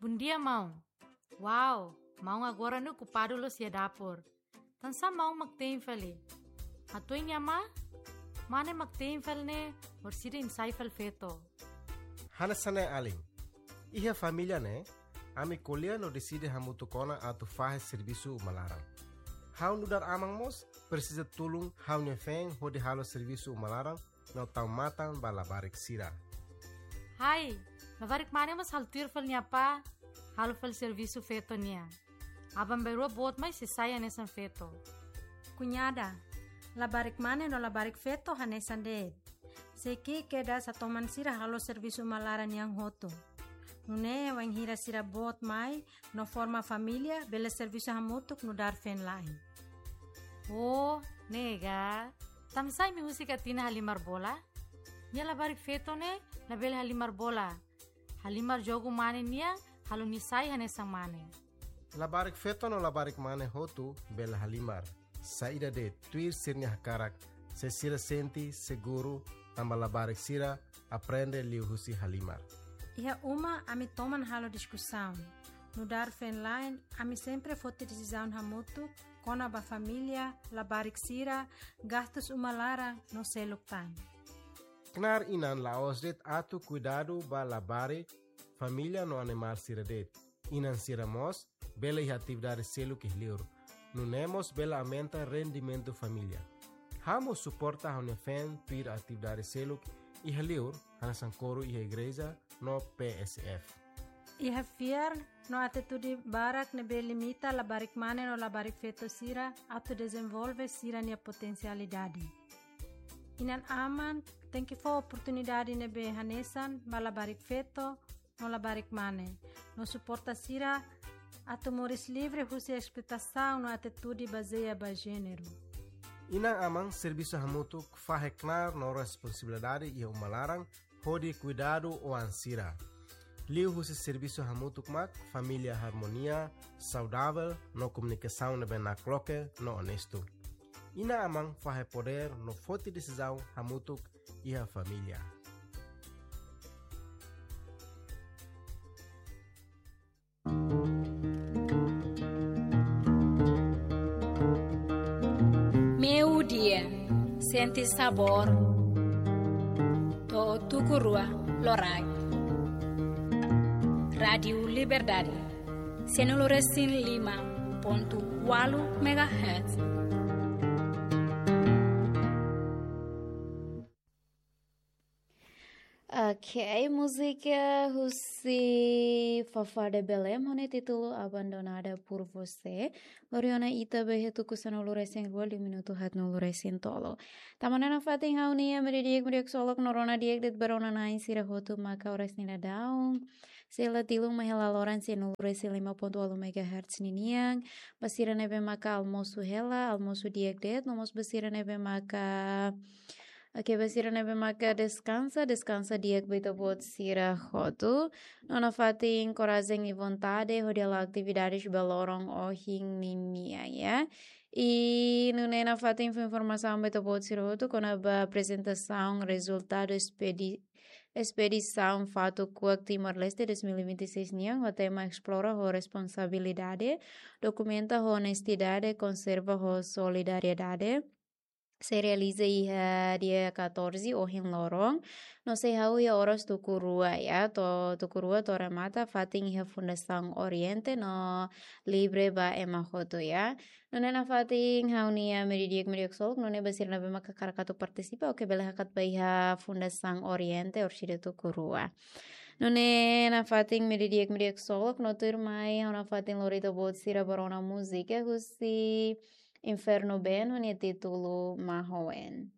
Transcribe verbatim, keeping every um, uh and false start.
Bondia, maun. Wow, maun agora ne'e okupadu loos iha dapur. Tansá maun mak te'in fali? Hatuan nia mane? Mane mak te'in fali ne'e, orsida imi sai fali feto. Hanesan ne'e alin. Iha família ne'e, ami ko'alia no deside hamutuk ona atu fahe servisu uma laran. Ha'u nu'udar aman mós presiza tulun ha'u-nia feen hodi halo servisu uma laran no tau matan ba labarik sira. Hai, labarik mane mós halo tuir fali nia apá, halo fali servisu feto nian. Aban-bainrua boot mai sei sai hanesan feto. Kuñada, labarik mane no labarik feto hanesan de'it. Sei ki'ik kedas atu toman sira halo servisu uma laran nian hotu. Nune'e wainhira sira boot mai no forma família, bele servisu hamutuk nu'udar feen-la'en. Oh, ne'e ka. Tansá imi husik Atina halimar bola? Nia labarik feto ne'e labele halimar bola. Halimar jogu mane nian, halo nia sai hanesan mane. Labarik feto no labarik mane hotu bele halimar. Saida de'it, tuir sira-nia hakarak, se sira sente seguru, tanba labarik sira aprende liuhusi halimar. Iha uma ami toman halo diskusaun. Nu'udar feen-la'en, ami sempre foti desizaun hamutuk kona-ba família, labarik sira, gastus uma laran no seluk tan. Knaar inan la'ós de'it atu kuidadu ba labarik, família no animál sira de'it. Inan sira mós bele iha atividade seluk iha li'ur. Nune'e mós bele aumenta rendimentu família. Ha'u mós suporta ha'u-nia feen tuir atividade seluk iha li'ur, hanesan koru iha igreja no P S F. Iha fiar no atitude barak ne'ebé limita labarik mane no labarik feto sira atu dezenvolve sira-nia potensialidade. Inan-aman tenke fó oportunidade ne'ebé hanesan ba labarik feto no labarik mane, no suporta sira atu moris livre husi esploitasaun no atitude bazeia ba jéneru. Inan-aman servisu hamutuk fahe knaar no responsabilidade iha uma laran hodi kuidadu oan sira. Liuhusi servisu hamutuk mak família harmonia, saudavel no komunikasaun ne'ebé nakloke no onestu. Inan-aman fahe podér no foti desizaun hamutuk iha família. Meiudia, sente sabór, to'o tuku rua loraik. Rádiu Liberdade, sanulu-resin-lima pontu ualu megahertz. Ok, múzika husi Fafá de Belém, ho nia títulu Abandonada por Você. Lori ona ita ba iha tuku sanulu-resin-rua, liu minutu haatnulu-resin-tolu. Tama ona nafatin ha'u-nia ema di'ak, ema di'ak, solok no rona di'ak de'it ba rona-na'in sira hotu maka oras ne'e daudaun sei la tilun mai hela loron sanulu-resin-lima pontu ualu megahertz ninian. Ba sira ne'ebé maka almosu hela, almosu di'ak de'it, no mós ba sira ne'ebé maka, oke, ba sira ne'ebé maka deskansa, deskansa di'ak ba ita-boot sira hotu. No nafatin korajen i vontade hodi halo atividades ba loron ohin ninian, ya. I nune'e nafatin fó informasaun ba ita-boot sira hotu kona-ba aprezentasaun rezultadu espedi-, espedisaun Fatuk Kuak Timor-Leste dois mil e vinte e seis nian, ho tema Esplora ho Responsabilidade, Dokumenta ho Onestidade, Konserva ho Solidariedade, sei realiza iha dia catorze, ohin loron, no sei hahú iha oras tuku rua, ya, to'o tuku rua to'o remata, fatin iha Fundasaun Oriente no livre ba ema hotu, ya. Nune'e nafatin ha'u-nia ema di'ak, ema di'ak, solok, nune'e ba sira ne'ebé maka hakarak atu partisipa, oke, bele hakat ba iha Fundasaun Oriente orsida tuku rua. Nune'e nafatin ema di'ak, ema di'ak, solok, no tuirmai ha'u nafatin lori ita-boot sira ba rona múzika husi Inferno Band ho nia títulu Mahoen.